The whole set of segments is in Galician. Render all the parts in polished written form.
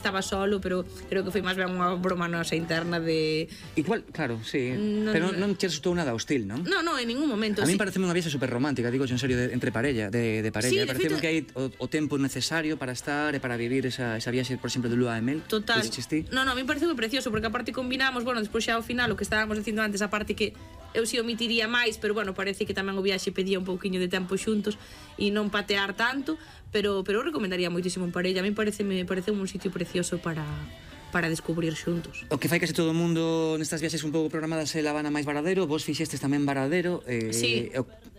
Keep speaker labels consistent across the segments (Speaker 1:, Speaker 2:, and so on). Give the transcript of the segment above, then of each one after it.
Speaker 1: estaba solo, pero creo que foi máis ben unha broma nosa interna de...
Speaker 2: Igual, claro, sí, pero non te resultou nada hostil, non?
Speaker 1: Non, en ningún momento.
Speaker 2: A mí pareceme unha viaxe super romántica, digo en serio, entre parella, de parella.
Speaker 1: Sí,
Speaker 2: pareceme que hai o tempo necesario para estar e para vivir esa viaxe, por exemplo, de lúa de mel.
Speaker 1: Total. Non, a mí pareceu precioso, porque aparte combinamos, bueno, despois xa ao final, o que estábamos dicindo antes, a parte que eu si omitiría máis, pero bueno, parece que tamén o viaxe pedía un pouquiño de tempo xuntos e non patear tanto, pero eu recomendaría moitísimo en parella. A mí parece un sitio precioso para descubrir xuntos.
Speaker 2: O que fai case todo o mundo nestas viaxes un pouco programadas é La Habana máis Varadero, vos fixestes tamén Varadero.
Speaker 1: Sí.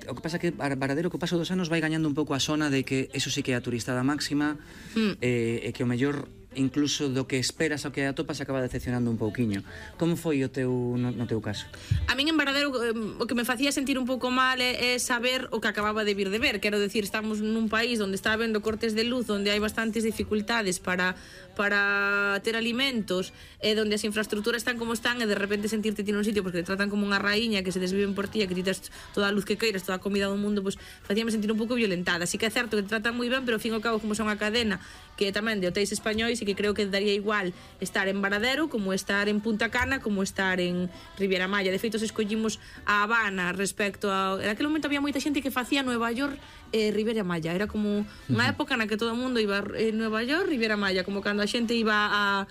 Speaker 2: O que pasa que Varadero co paso dos anos vai gañando un pouco a sona de que eso sí que é a turistada máxima, e que o mellor incluso do que esperas ao que atopas acaba decepcionando un pouquiño. Como foi no teu caso?
Speaker 1: A min en Varadero o que me facía sentir un pouco mal é saber o que acababa de vir de ver. Quero decir, estamos nun país onde está habendo cortes de luz, onde hai bastantes dificultades para ter alimentos, donde as infraestructuras están como están, e de repente sentirte ti nun sitio porque te tratan como unha raíña, que se desviven por ti, que ti tes toda a luz que queiras, toda a comida do mundo, pues facíame sentir un pouco violentada. Así que é certo que te tratan moi ben, pero ao fin e ao cabo, como son a cadena que tamén de hotéis españois, e que creo que daría igual estar en Varadero como estar en Punta Cana, como estar en Riviera Maya. De feito, escollimos a Habana respecto a... En aquel momento había moita xente que facía Nueva York e Riviera Maya. Era como unha época na que todo o mundo iba a Nueva York, Riviera Maya, como cando a xente iba a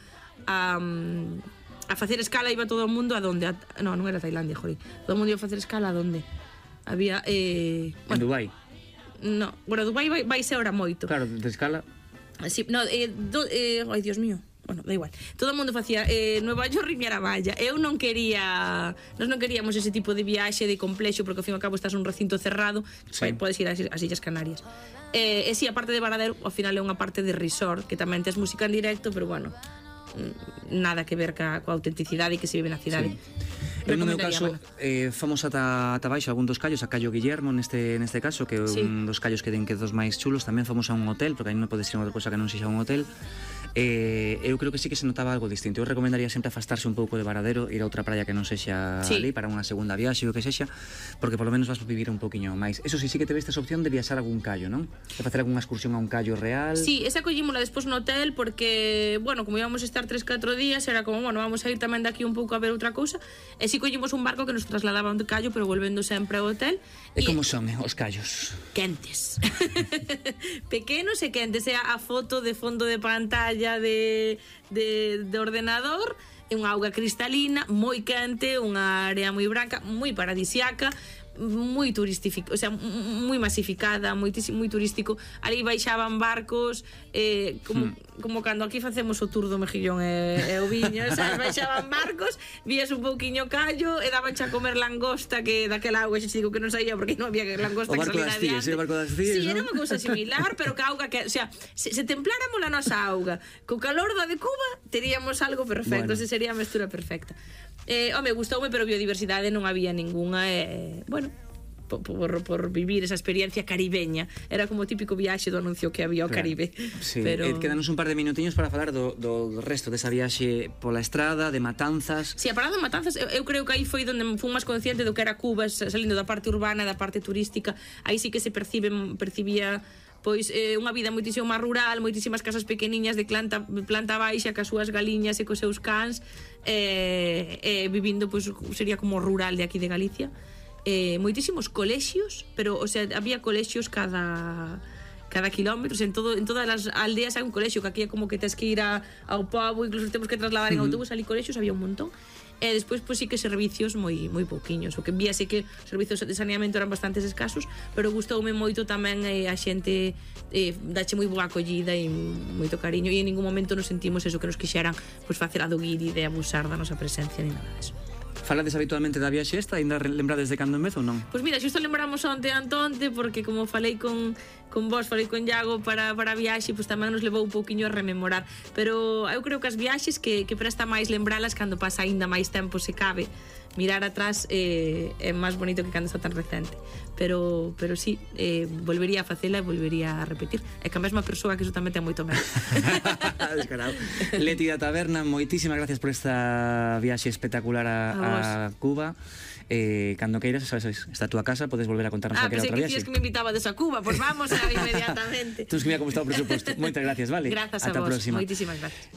Speaker 1: facer escala, iba todo o mundo a donde? Non era Tailandia, jori. Todo o mundo iba a facer escala a donde? Había...
Speaker 2: En Dubai?
Speaker 1: No, bueno, Dubai vai ser ahora moito.
Speaker 2: Claro, de escala...
Speaker 1: Sí, no, ai, Dios mío. Bueno, da igual. Todo o mundo facía Nueva York, Riviera Maya. Eu non quería... Nós non queríamos ese tipo de viaxe de complexo, porque ao fin e ao cabo estás nun recinto cerrado, sí. Podes ir ás Illas Canarias. E si, a parte de Varadero, ao final é unha parte de resort, que tamén tes música en directo, pero bueno, nada que ver coa autenticidade que se vive na cidade.
Speaker 2: Sí. Eu no meu caso fomos ata baixo algún dos callos, a Callo Guillermo neste caso, que é un dos callos que den que dos máis chulos. Tamén fomos a un hotel, porque aí non pode ser unha cousa que non sexa un hotel. Eu creo que sí que se notaba algo distinto. Eu recomendaría sempre afastarse un pouco de Varadero, ir a outra praia que non sexa ali para unha segunda viaxe ou que sexa, porque polo menos vas a vivir un poquinho máis. Eso sí que te vestes a opción de viaxar a algún callo, non? De facer algunha excursión a un callo real.
Speaker 1: Sí, esa collímola despois no hotel, porque, bueno, como íbamos a estar 3-4 días, era como, bueno, vamos a ir tamén de aquí un pouco a ver outra cousa. E si collimos un barco que nos trasladaba a un callo, pero volvendo sempre ao hotel.
Speaker 2: E como son os callos?
Speaker 1: Quentes. Pequenos e quentes. É a foto de fondo de pantalla de ordenador, é unha auga cristalina, moi quente, unha área moi branca, moi paradisiaca, moi turístico, o sea, moi masificada, moi turístico. Ali baixaban barcos, como cando aquí facemos o tour do Mejillón e o Viño, sabes? Baixaban barcos, vías un pouquiño callo e dabanche a comer langosta, que daquela auga, xe digo que non saía porque non había langosta que salía adiante.
Speaker 2: O barco das Cíes,
Speaker 1: sí, era unha cousa similar, pero que auga que, o sea, se templáramos a nosa auga co calor da de Cuba, teríamos algo perfecto, esa sería a mestura perfecta. Home, gustoume, pero biodiversidade non había ningunha, bueno, por vivir esa experiencia caribeña. Era como o típico viaxe do anuncio que había ao Caribe.
Speaker 2: Sí, pero... quedanos un par de minutiños para falar do resto desa viaxe pola estrada, de Matanzas.
Speaker 1: Sí, a parada de Matanzas, eu creo que aí foi onde fui máis consciente do que era Cuba, salindo da parte urbana, da parte turística. Aí sí que se percibía pois unha vida moitísimo máis rural, moitísimas casas pequeniñas de planta baixa, cas súas galiñas e cos seus cans, vivindo, pois sería como rural de aquí de Galicia. Moitísimos colexios, pero, o sea, había colexios cada kilómetro, en todas as aldeas hai un colexio, que aquí é como que tes que ir ao pobo, incluso temos que trasladar en autobús, ali colexios había un montón. E despois, pois sí que servicios moi pouquiños. O que víase que os servicios de saneamento eran bastantes escasos, pero gustoume moito tamén a xente dache moi boa acollida e moito cariño, e en ningún momento nos sentimos eso, que nos quixeran pois facer a do guiri de abusar da nosa presencia ni nada deso.
Speaker 2: Falades habitualmente da viaxe esta? Ainda lembrades de cando en vez ou non?
Speaker 1: Pois mira, xusto lembramos onte porque como falei con vos, falei con Iago para a viaxe, pois tamén nos levou un pouquiño a rememorar. Pero eu creo que as viaxes que presta máis lembralas cando pasa aínda máis tempo, se cabe. Mirar atrás é máis bonito que cando está tan recente. Pero sí, volvería a facela e volvería a repetir. É que a mesma persoa, que iso tamén ten moito medo.
Speaker 2: Descarado. Leti da Taberna, moitísimas gracias por esta viaxe espectacular a Cuba. Cando queiras, sabes, está a túa casa, podes volver a contarnos calquera outra viaxe.
Speaker 1: Pensei que me invitaba a Cuba, pois vamos inmediatamente.
Speaker 2: Tens que mirar como está o presuposto. Moitas gracias, vale?
Speaker 1: Grazas a vos, moitísimas gracias.